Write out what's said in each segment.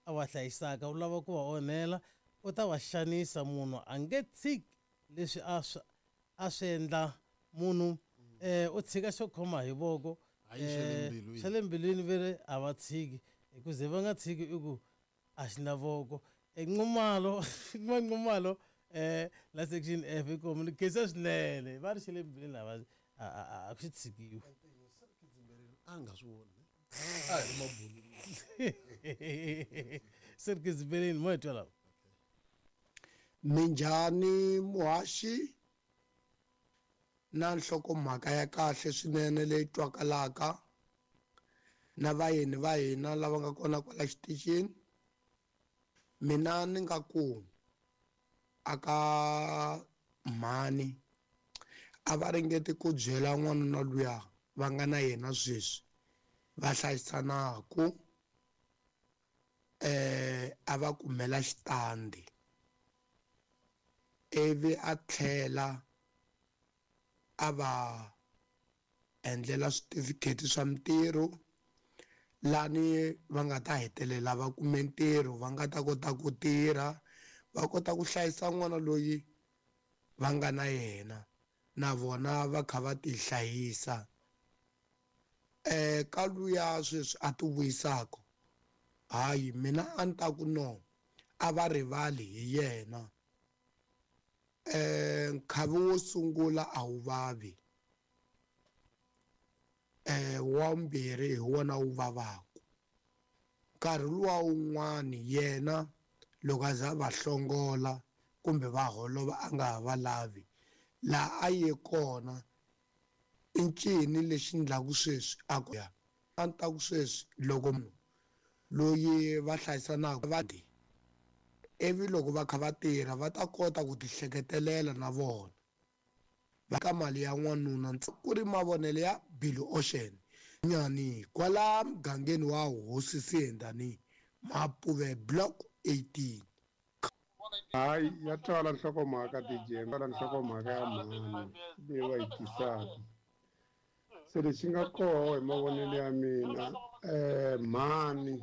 a va hlayisaka u lava ku va onhela u ta va xanisa munhu a nge tshiki leswi a swi a swi endla munhu u tshika xo khoma hi voko. Hayi, xa le mbilwini. Xa le mbilwini ve ri a va tshiki hi ku ze va nga tshiki i ku a xi na voko. Nxumalo Nxumalo la section F i komu ni khensa swinene va ri xa le mbilwini a va a xi tshikiwi. A nga swi voni a hi ri mabulu. Se ri khidzimberini mo hi twa lava. Minjhani muhaxi na nhlokomhaka ya kahle swinene leyi twakalaka na vayeni va hina lava nga kona kwala xitichini. Mina ni nga ku aka mhani a va ringeti ku byela n'wanuna luya va nga na yena sweswi va hlayisanaku a va kumela xitandi ivi a tlhela a va endlela switifikheti swa mintirho lani va nga ta hetelela va kume ntirho va nga ta kota ku tirha va kota ku hlayisa n'wana loyi va nga na yena na vona va kha va ti hlayisa. Ka luya sweswi a ti vuyisaka hayi mina a ni ta ku no a va rivali hi yena. Nkhavi wo sungula a wu vavi, wa vumbirhi hi wona wu vavaka. Nkarhi luwa wun'wani yena loko a za va hlongola kumbe va holova a nga ha va lavi laha a ye kona i ncini lexi ndlaku sweswi a ku ya a ni ta ku sweswi loko munhu loyi va hlayisanaka va ivi loko va kha va tirha va ta kota ku ti hleketelela na vona va ka mali ya n'wanuna ku ri mavonelo ya Billy Ocean nyani kwala mugangeni wa Hosi Siyendani Mapuve Block 18. Hayi ya twala nhlokomhaka DJ twala nhlokomhaka ya mhani leyi va yi tisaka. Se lexi nga koho hi mavonelo ya mina mhani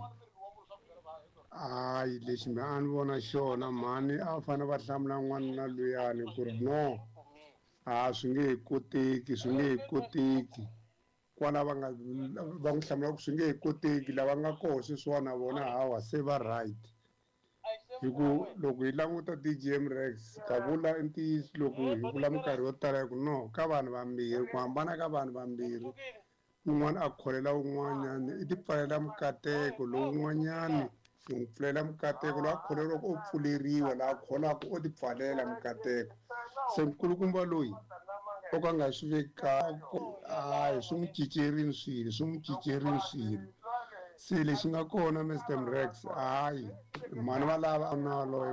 hayi lexi mina a ni vona xona mhani a va fanele va hlamula n'wanuna luyani ku ri no a swi nge he koteki swi nge he koteki kwala va nga va n'wi hlamula ku swi nge he koteki lava nga koho sweswiwani na vona hawa se va right. Hi ku loko hi languta DJM Rex ka vula ntiyiso loko hi vula minkarhi yo tala hi ku no ka vanhu vambirhi ku hambana ka vanhu vambirhi un'wana a kholela un'wanyana i ti pfalela mikateko lowun'wanyani hi n'wi pfulela mikateko loyi a kholeriwaka o pfuleriwa laha kholaka o ti pfalela mikateko. Se nkulukumba loyi o ka nga swi veki hayi swi n'wi cincerini swilo swi n'wi cincerini swilo. Se lexi nga kona Mr Rex hayi mhani va lava na loyi.